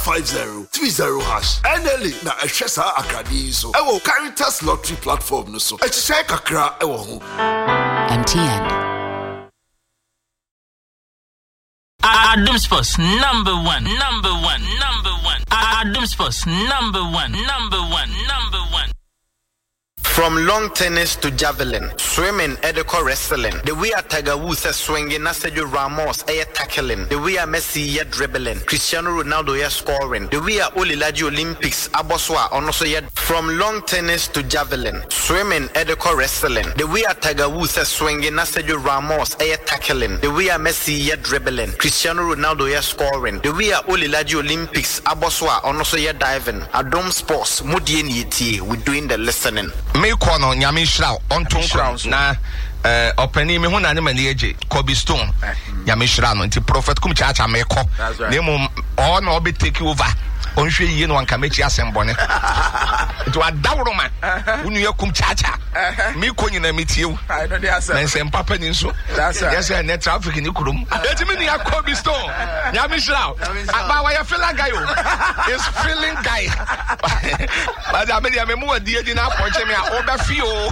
50 30 hash. NLA na ɛhwɛ saa akradeɛ yi so ɛwɔ Caritas Lottery platform no so. Ɛhyehyɛe kakra ɛwɔ ho. MTN. Adum Sports number one, number one, number one. Adum Sports number one, number one, number one. From long tennis to javelin, swimming ɛde kɔ wrestling, the way a Tiger Woods sɛ swinging na Sergio Ramos ɛyɛ tackling, the way a Messi yɛ dribbling, Cristiano Ronaldo yɛ scoring, the way a Oli Lagye Olympics abɔ so a ɔno nso yɛ From long tennis to javelin, swimming ɛde kɔ wrestling, the way a Tiger Woods sɛ swinging na Sergio Ramos ɛyɛ tackling, the way a Messi yɛ dribbling, Cristiano Ronaldo yɛ scoring, the way a Oli Lagye Olympics abɔ so a ɔno nso yɛ diving, Adom Sports, mo deɛ na yɛtie, we doing the listening. Me kɔ no Nyame nhyira wo ɔnto nkwa na eh, ɔpanin me ho na ne m'ani agye Kobe Stone eh. Nyame nhyira no nti Prophet Kum Chacha me kɔ na mmom ɔɔ na ɔbɛ take over ɔnhwɛ yie na wanka m'akyi asɛm bɔne nti wadaworo ma wo nua Kum Chacha me kɔ nyina me tie wo na nsɛm papa ni nso yɛ sɛ ɛnɛ traffic ne kurom eti me nua Kobe Stone Nyame nhyira wo aba wɔyɛ feeling guy o is feeling guy. But I mean, I'm more dear than I punch me. Over feel.